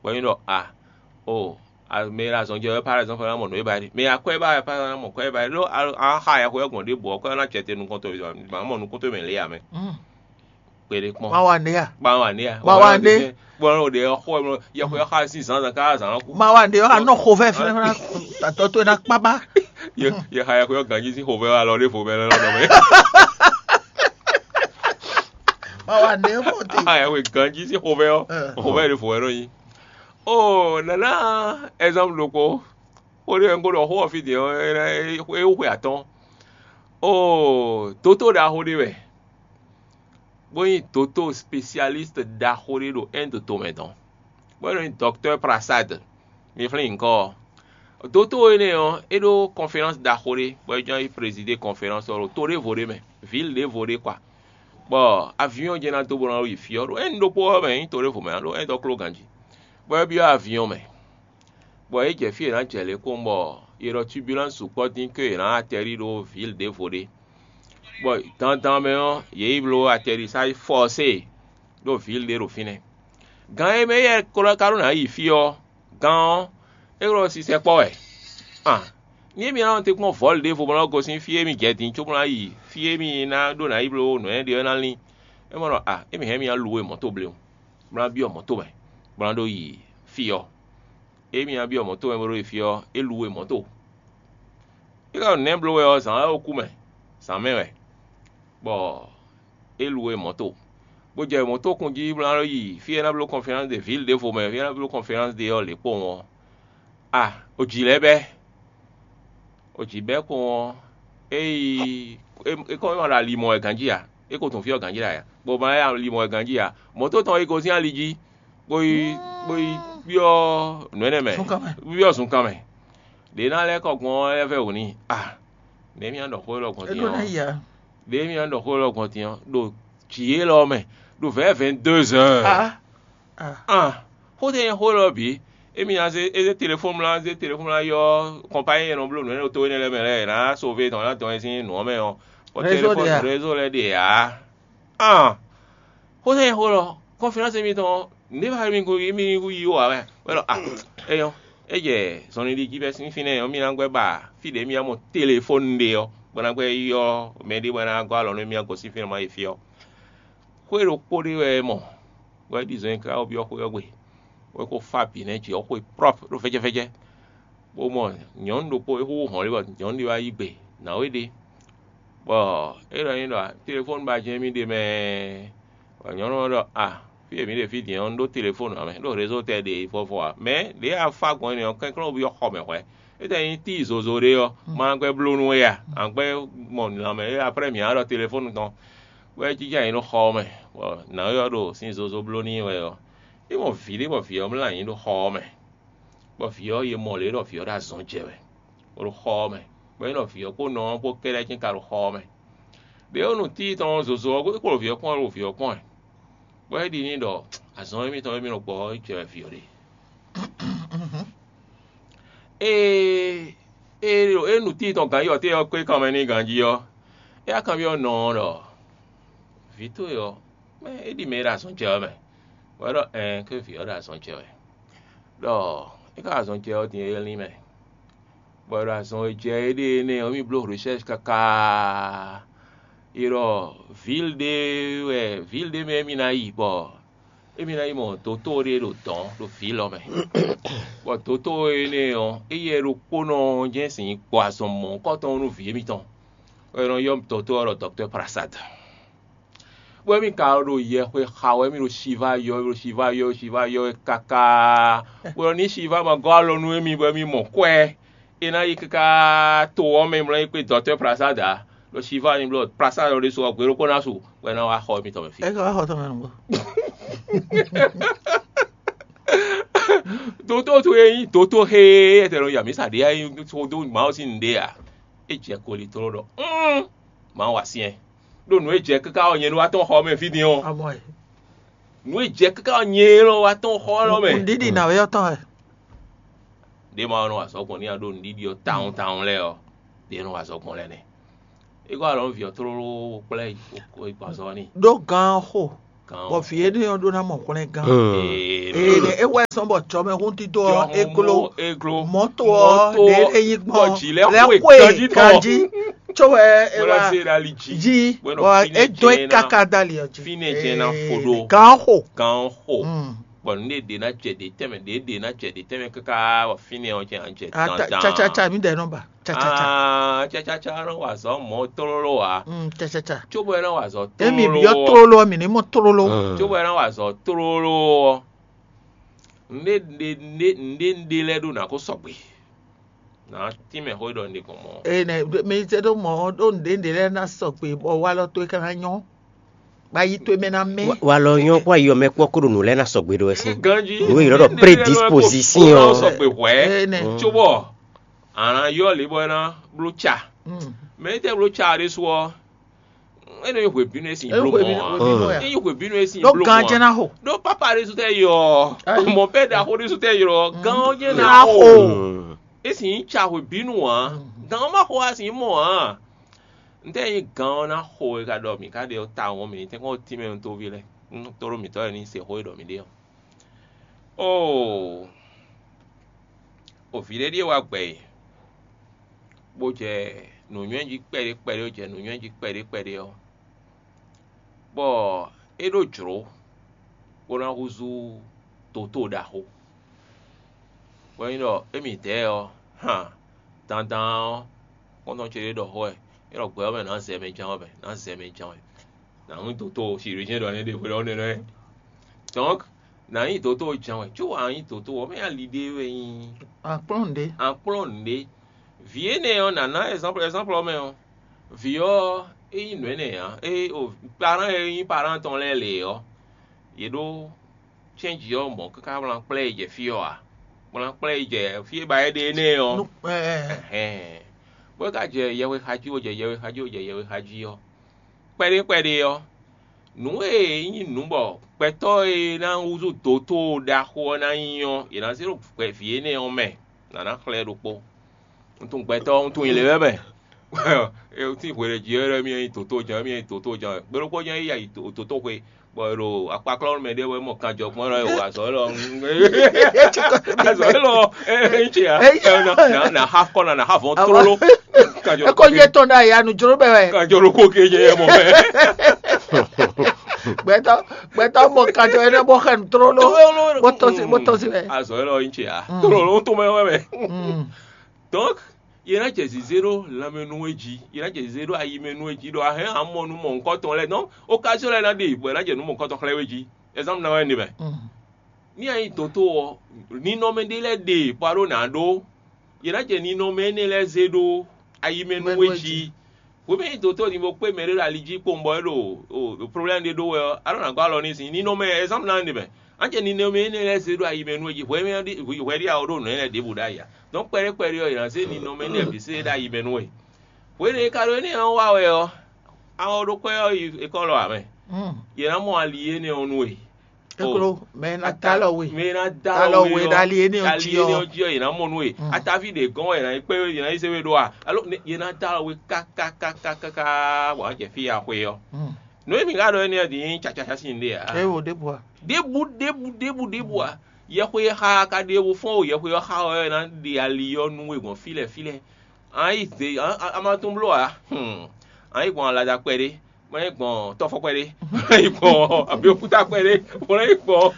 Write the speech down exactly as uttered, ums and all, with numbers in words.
Bɔ é nyí ɖɔ a o mɛ e ɖo azɔn jɛ wɛ par exemple ná mɔ nǔ e ba ɖi, mɛ e akwɛ́ ba wɛ par exemple ná mɔ kwɛ́ e ba ɖi, ɖó a xa yɛhwe ɔ́ gbɔn ɖěbǔ ɔ́, kwɛ́ ɔ́ ná jɛ te nukɔn towe, mǎ mɔ nukún towe mɛ lě ǎ mɛ. Kpeɖé kpɔn. Má wa nɖé a? Má wa nɖé a? Má wa nɖé. Gbɔn ɖe ɔ́ xɔ yɛhwe ɔ́ xa sín zǎnzǎn ká zǎn ɔ́ kú. Má wa nɖé ɔ́, anɔ xo vɛ fɛnɛ fɛnɛ. Tatɔ towe ná kpá bá. Ye ye xa yɛhwe ɔ́ ganjí sín xovɛ alɔ ɖěvo mɛ lɛ lɔ nɔ mɛ. Má wa nɖé ɔ́ fɔ te. Xa yɛhwe ganjí sín xovɛ ɔ́, xovɛ ɖěvo wɛ nɔ nyi. Oo nana, exemple ɖokpó, xó ɖé wɛ un ko ɖɔ xó ɔ́ fí din ɔ́, é wú xwe atɔ́ɔ́n. Oo, dotó ɖaxó ɖé wɛ, bó nyí dotó spécialiste ɖaxó ɖé ɖo Inde tomɛ tɔn, bó nɔ nyí docteur Prasad. Mi flín nyǐkɔ ɔ́. Dotó énɛ́ ɔ́, é ɖó conférence ɖaxó ɖé, bɔ é jɛ́n yi présider conférence ɔ́ ɖo to ɖěvo ɖé mɛ, ville ɖěvo ɖé kwa. Bɔ avion jɛ́n ná dó bó ná yi fí ɔ́, ɖo Inde ɖokpó ɔ́ mɛ nyí to ɖěvo mɛ ǎ, ɖo Inde ɔ́ kló ganjí. Bɔ é byɔ́ avion mɛ, bɔ yě jɛ fí e è nǎ jɛ lě kpɔ́n bɔ è ɖɔ turbulence sukpɔ́ dín có è nǎ atterrir ɖó ville ɖěvo ɖé. Bɔ dandan mɛ ɔ́, yě yi bló atterrissage forcé ɖó ville ɖé ɖo fínɛ́. Gan e mɛ éyɛ́ ka ɖó ná yi fí ɔ́, gan ɔ́, é ɖo sisɛ kpɔ́ wɛ. An, ní émí ná nɔ te kpɔ́n vɔ̌lu ɖěvo bó ná gosín fí e mì jɛ din cóbó ná yi fí e mì ná ɖó ná yi bló nǔ énɛ́ ɖe ɔ́ ná lín, é mɔ ɖɔ a émí hɛn mì ná lu we mɔ̌to bléwún, bó ná byɔ́ mɔ̌to mɛ, bó ná ɖó yi fí ɔ́. Émí ná byɔ́ mɔ̌to mɛ bó ɖó yi fí ɔ́, é lu we mɔ̌to. É ka ɖo nɛ̌ bló wɛ ɔ́, zǎn wɛ é kú mɛ, zǎn mɛ wɛ, bɔ é lu we mɔ̌to, bó jɛ mɔ̌to kun jí bó ná yi fí e ná bló conférence de ville ɖěvo mɛ, fí e ná bló conférence de ɔ́ lě kpowun ɔ́. A, o jǐ lɛ́ɛ bɛ́, o jǐ bɛ́ kpowun ɔ́, é yi é kɔn é ma ɖo ali mɔ wɛ ganjí ǎ, é ko tun fí ɔ́ ganjí ɖo aya, bɔ ma yá ali mɔ wɛ ganjí ǎ, mɔ̌to tɔn é gosín ali jí, bó yi bó yi byɔ́ nǔ énɛ́ mɛ, byɔ́ zunkan mɛ. Ɖě ná lɛ́ kɔ gbɔn ɔ́ lɛ́ vɛ́ wǔ n'i. A, nɛ̌ mì ná ɖɔ xó élɔ́ gbɔn din ɔ́? Ɖě mì ná ɖɔ xó élɔ́ gbɔn din ɔ́, ɖo jǐ élɔ́ mɛ, ɖo vɛ̌ vingt-deux heures. Ah, xó tɛ́ nyí xó élɔ́ bǐ? Émí ná zé é zé telefɔ́nu mlá zé telefɔ́nu mlá yɔ́ kɔnpanyí e nɔ bló nǔ énɛ́ to énɛ́ lɛ́ɛ mɛ lɛ́ɛ, è nǎ sove tɔn ná dɔn ɛ sín nǔ ɔ́ mɛ ɔ́, bɔ Réseau ɖe telefɔ́nu ǎ. Réseau lɛ́ɛ ɖe ǎ. An, xó tɛ́ nyí xó élɔ́? Conférence émítɔn ɔ́, nǔɖé wɛ mi ko mi ko yí wǎ wɛ? Wɛ ɖɔ a, é nyɔ́, é jɛ zɔnlin ɖi jí bɛ́ sín fínɛ́ ɔ́, mì ná gbɛ́ ba fí ɖě mì ná mɔ telefɔ́nu ɖe ɔ́, bó ná gbɛ́ ylɔ́ mɛɖé bó ná gɔ́ alɔ nú mì ná gosín fínɛ́ ma yi fí ɔ́. Xwé ɖokpó ɖé wɛ é mɔ, bɔ é ɖi zɔn e ká byɔ́ xwé ɔ́ gbe, bɔ é ko fá bǐ nɛ́ jǐ ɔ́ xwe prɔ́p ɖo fɛ́jɛ́fɛ́jɛ́, bó mɔ nyɔ̌nu ɖokpó, é xúxú hɔn lé bɔ nyɔ̌nu ɖé wá yí gbe nǎwe ɖé, bɔ é ɖɔ n'i ɖɔ telefɔ́nu ba jɛ́n mì ɖe mɛ, bɔ nyɔ̌nu ɔ́ ɖɔ a, fí e mǐ ɖe fí din ɔ́, un ɖó telefɔ́nu ǎ mɛ, ɖó rézo tɛ ɖe vɔvɔ ǎ, mɛ ɖě a fá gbɔn énɛ́ ɔ́, kɛnklɔ́n byɔ́ xɔ mɛ hwɛ̌. É tɛ nyí tíi zozo ɖé ɔ́, ma gbɛ́ bló nú we a? A gbɛ́ mɔ lanmɛ é, aprɛ́ mǐ á ɖɔ telefɔ́nu tɔn. Bɔ é jínjɔ́n ayǐ ɖo xɔ ɔ́ mɛ, bɔ nǎwe ɔ́ ɖo sin zozo bló n'i wɛ ɔ́, é mɔ vǐ ɖé bɔ vǐ ɔ́ mlɔ́ ayǐ ɖo xɔ ɔ́ mɛ, bɔ vǐ ɔ́, è mɔ lě ɖɔ vǐ ɔ́ ɖo azɔn jɛ wɛ, bó ɖo xɔ ɔ́ mɛ, bɔ é nɔ vǐ ɔ́ kpó nɔ ɔ́ kpó kɛ́ɖɛ́ cɛ́n ka ɖo xɔ ɔ́ mɛ. Ɖě ɔ́, nú tíi tɔn ɔ́ zozo ɔ́, é kpo ɖo vǐ ɔ́ kpɔ́n wɛ, ɖo vǐ ɔ́ kpɔ́n wɛ, bɔ é ɖi n'i ɖɔ azɔn émítɔn e mì nɔ gbɔ ɔ́ jɛ wɛ vǐ ɔ́ ɖe. Ée é nu tíi tɔn ganjí ɔ́, té ɔ́ kpé kanmɛ n'i ganjí ɔ́, é wá kanbyɔ́ nɔ ɔ́ ɖɔ: "Vǐ towe ɔ́, mɛ é ɖi mɛ e ɖo azɔn jɛ ɔ́ mɛ?" Bɔ é ɖɔ: "Ɛɛn, ké vǐ ɔ́ ɖo azɔn jɛ wɛ." Ɖɔ é ka ɖo azɔn jɛ ɔ́ din é lín mɛ, bɔ è ɖo azɔn e jɛ éɖée énɛ́ ɔ́, mì bló recherche káká. È ɖɔ vǐl ɖé wɛ, vǐl ɖé mɛ émí ná yi, bɔ émí ná yi mɔ dotó ɖé ɖo dɔ̌n ɖo vǐl ɔ́ mɛ. Bɔ dotó énɛ́ ɔ́, éyɛ́ ɖokpónɔ ɔ́ jɛ́n sin gbɔ azɔn mɔ̌hunkɔtɔn nú vǐ émítɔn, bɔ è nɔ ylɔ́ dotó ɔ́ ɖɔ dɔ̌ktɔ́ Prasad. Bɔ émí ka ɖo yɛhwe xa wɛ, émí ɖo Shiva yɔ, ɖo Shiva yɔ, Shiva yɔ wɛ káká. Bɔ ní Shiva ma gɔ́ alɔ nú émí, bɔ émí mɔ kwɛ́, é ná yi káká to ɔ́ mɛ, mlɔ́ yi kpé dɔ̌tɔ́ Prasad ǎ. Ɖo Shiva ní bló Prasad ɔ́ ɖésú ɔ́, gbe ɖokpó ná su, bɔ é ná wá xɔ émítɔn mɛ fí. É ka wá xɔ tɔn mɛ nǔgbó. Dotó towe nyí dotó xé, é tɛ nɔ ya mǐ sa ɖě, é nyí xó dó Mawu sín nǔɖé ǎ. É jɛ koli tló ɖɔ: "Ún, Mawu wa syɛ́n, ɖó nǔ e jɛ káká ɔ́, nyɛ ɖó wá tɔn xɔ mɛ fí din ɔ́. Amɔ ɛ. Nǔ e jɛ káká ɔ́, nyɛ lɔ wá tɔn xɔ lɔ mɛ." Nǔɖiɖi nǎwe ɔ́ tɔn wɛ. Ɖé ma nɔ azɔ̌ gbɔn n'i ɖó nǔɖiɖi ɔ́ tawun tawun lɛ́ɛ ɔ́, ɖě nɔ azɔ̌ gbɔn lɛ́ɛ nɛ́. É gɔ́ alɔ nú vǐ ɔ́ tlóló kplá yi gbɔn azɔn ɔ́ n'i. Ɖó gǎn ɔ́ xo. Bɔ vǐ énɛ́ ɔ́ ɖó ná mɔ hwlɛngán. Ee, é wɛ sɔn bɔ jɔmɛhúndídó ɔ́ é gló. Mɔ̌to ɔ́ ɖě é nyí gbɔn lɛ́ xwe ganjí. Có wɛ é wá jí bɔ é dó é káká dó ali ɔ́ jí. Gǎn xo. Gǎn xo. Bɔ nǔɖé ɖě ná jɛ ɖě tɛnmɛ, ɖě ɖě ná jɛ ɖě tɛnmɛ káká bɔ fínɛ́ ɔ́ jɛ ná jɛ dandan. Cacaca mi ɖɛ nɔ ba. Cacaca. Cacaca nɔ wa azɔ̌ mɔ̌ tlóló ǎ. Cacaca. Cóbɔ é nɔ wa azɔ̌ tlóló. Emi byɔ́ tlóló ɔ́, mǐ ní mɔ tlóló. Cóbɔ é nɔ wa azɔ̌ tlóló ɔ́, nǔɖé nǔɖé nǔɖé nǔɖé lɛ́ɛ ɖó nǎ ko sɔgbe. Nǎ tínmɛ xó ɖɔ un ɖe gbɔn mɔ̌. Ee nɛ mi se ɖó mɔ̌ ɖó nǔɖé nǔɖé lɛ́ɛ ná sɔgbe bɔ walɔ towe ka ná nyɔ́. Bɔ ayi towe mɛ ná mɛ. Walɔ nyɔ́ kpó ayi ɔ́ mɛ kpɔ́ kó ɖo nǔ lɛ́ɛ ná sɔgbe ɖó wɛ sín. Ganjí. Nǔ e ylɔ́ ɖɔ prédisposition ɔ́. Sɔgbe hwɛ̌. Ee nɛ. Cóbɔ a nǎ ylɔ́ lě bɔ é ná bló ca. Mɛ e tɛ́ bló ca ɖésú ɔ́, é nɔ nyí hwebǐnu e sin bló mɔ̌ ǎ. É nyí hwebǐnu e sin bló mɔ̌ ǎ. Ɖó ganjɛ́ ná xo. Ɖó pápá ɖésú tɛ́ ylɔ́ ɔ́, mɔ bɛ́ ɖaxó ɖésú tɛ́ ylɔ́ ɔ́, gán ɔ́ jɛ́n ná xo. É sin nyí ca hwebǐnu ǎ. Gán ɔ́ má xo wá sin mɔ ǎ. Ntɛ́ɛ nyí gǎn ɔ́ ná xo e ka ɖɔ mǐ ka ɖe ɔ́ tawun ɔ́, mǐ ní tɛ́nkpɔ́n tínmɛ nú tóví lɛ́ɛ, nú tóɖó mǐtɔn lɛ́ɛ ní se xó e ɖɔ mǐ ɖe ɔ́. Oo, o vǐ ɖé ɖíe wá gbɛ e, bó jɛ nǔnywɛ́ jí kpɛɖé kpɛɖé, bó jɛ nǔnywɛ́ jí kpɛɖé kpɛɖé ɔ́, bɔ é ɖó jlǒ bó ná húzú dotóo ɖaxó. Bɔ é nyí ɖɔ émí dɛ̌ ɔ́, han, dandan ɔ́, xɔ́ntɔn ce ɖé ɖɔ xó wɛ, é ɖɔ gbɛ ɔ́ mɛ nǎ zɛ mɛ ján wɛ mɛ, nǎ zɛ mɛ ján wɛ. Nǎ nyí dotóo chirurgien ɖɔ nɛ́ ɖe hwelɔ́ nɛ́ nɛ́. Donc, nǎ nyí dotóo ján wɛ, có wǎ nyí dotóo ɔ́, mɛ ali ɖé wɛ nyí Akplɔ́n ɖé. Akplɔ́n nǔɖé. Vǐ énɛ́ ɔ́, nǎ ná ɛzánplɔ ɛzánplɔ mɛ ɔ́, vǐ ɔ́, é nyí nǔ énɛ́ ǎ. É o parán e nyí parán tɔn lɛ́ɛ lě ɔ́, yě ɖó cɛ́nji ɔ́ mɔ̌ káká wlán kplá yi jɛ fí ɔ́ ǎ. Wlán kplá yi jɛ fí e ba é ɖe énɛ́ ɔ́. Hɛn, bó ka jɛ yɛhwe xa jí, bó jɛ yɛhwe xa jí, bó jɛ yɛhwe xa jí ɔ́, kpɛɖé kpɛɖé ɔ́, nǔ e nyí nǔ bɔ gbɛtɔ́ e ná húzú dotóo ɖaxó ɔ́ ná nyí ɔ́, yě ná zé ɖo vǐ énɛ́ ɔ́ mɛ, nǎ ná xlɛ́ ɖokpó. Un tunwun gbɛtɔ́, un tunwun nyɛ lě wɛ mɛ. Tín hwe ɖě jí wɛ ɖɔ émí nyí dotóo ján, émí nyí dotóo ján wɛ. Gbe ɖokpó ján é yi ayi dotóxwe, bɔ è ɖo akpaklɔ́nú mɛ ɖé wɛ mɔ kanjɔ kpɔ́n ɖɔ è wɔ azɔ̌ élɔ́. Azɔ̌ élɔ́ é nyí ce ǎ. Na ha kɔ na na ha vɔn tlóló. Kanjɔ eko yé tɔn ɖo aya nu jló bɛ wɛ. Kanjɔ ɖokpó ke jɛ yɛ mɔ mɛ. Gbɛtɔ gbɛtɔ mɔ kanjɔ yɛ bɔ xɛ nu tlóló. Bó tɔn si bó tɔn si wɛ. Azɔ̌ élɔ́ é nyí ce ǎ. Tlóló tó mɛ wɛ mɛ. Donc, yě ná jɛ zǐzé ɖó lanmɛ nú we jí, yě ná jɛ zǐzé ɖó ayi mɛ nú we jí, ɖɔ a hɛn a mɔ nú mɔ̌hunkɔtɔn lɛ́ɛ. Donc, occasion lɛ́ɛ ná ɖe bɔ è ná jɛ nú mɔ̌hunkɔtɔn xlɛ́ we jí. Exemple ná wɛ ɖe mɛ. Ní a nyí doto ɔ́, ninɔmɛ ɖé lɛ́ɛ ɖe bɔ a ɖó nǎ ɖó. Yě ná jɛ ninɔmɛ énɛ́ lɛ́ɛ zé ɖó ayi mɛ nú we jí. Hwemɛ e doto din bó kpé mɛ ɖé ɖo ali jí kpowun bɔ é ɖo problème ɖé ɖó wɛ ɔ́, a ɖó nǎ gɔ́ alɔ n'i sín ninɔmɛ, exemple ná ɖe mɛ. Anjɛ ninɔmɛ énɛ́ lɛ́ɛ zé ɖó ayi mɛ nú we jí, hwɛ ɖi a ɖó nǔ énɛ́ ɖěbǔ ɖ'ayǐ ǎ. Donc kpɛɖé kpɛɖé ɔ́, è nǎ zé ninɔmɛ énɛ́ bǐ zé ɖó ayi mɛ nú we. Hwenu e ka ɖo énɛ́ ɔ́ wa wɛ ɔ́, a ɔ ɖó kwɛ́ ɔ́ yi ekɔ́lɔ ǎ mɛ. Yě ná mɔ ali énɛ́ ɔ́ nú we. Eklo, mɛ e ná dó alɔ we. Mɛ e ná dó alɔ we ɖo ali énɛ́ ɔ́ jí ɔ́, yě ná mɔ nú we. Ataví ɖě gɔ́n wɛ yě ná yi kpé yě ná yi zé we ɖó a? Alo yě ná dó alɔ we kákákákáká bɔ a jɛ fí ya xwe ɔ́. Nǔ e mǐ ka ɖɔ énɛ́ ɔ́ din nyí cacaca sín ɖe ǎ. É wo ɖěbǔ a? Ɖěbǔ ɖěbǔ ɖěbǔ ɖěbǔ a? Yɛxwe e xa ka ɖe wo fɔ́n o, yɛxwe ɔ́ xa ɔ́ ná ɖe ali ɔ́ nú we gbɔn fí lɛ́ɛ fí lɛ́ɛ. A yi zě a ma tún bló ǎ. A yi gbɔn alada kpɛɖé, ma yi gbɔn tɔ́fɔ kpɛɖé, ma yi gbɔn abiɔkúta kpɛɖé, ma yi gbɔn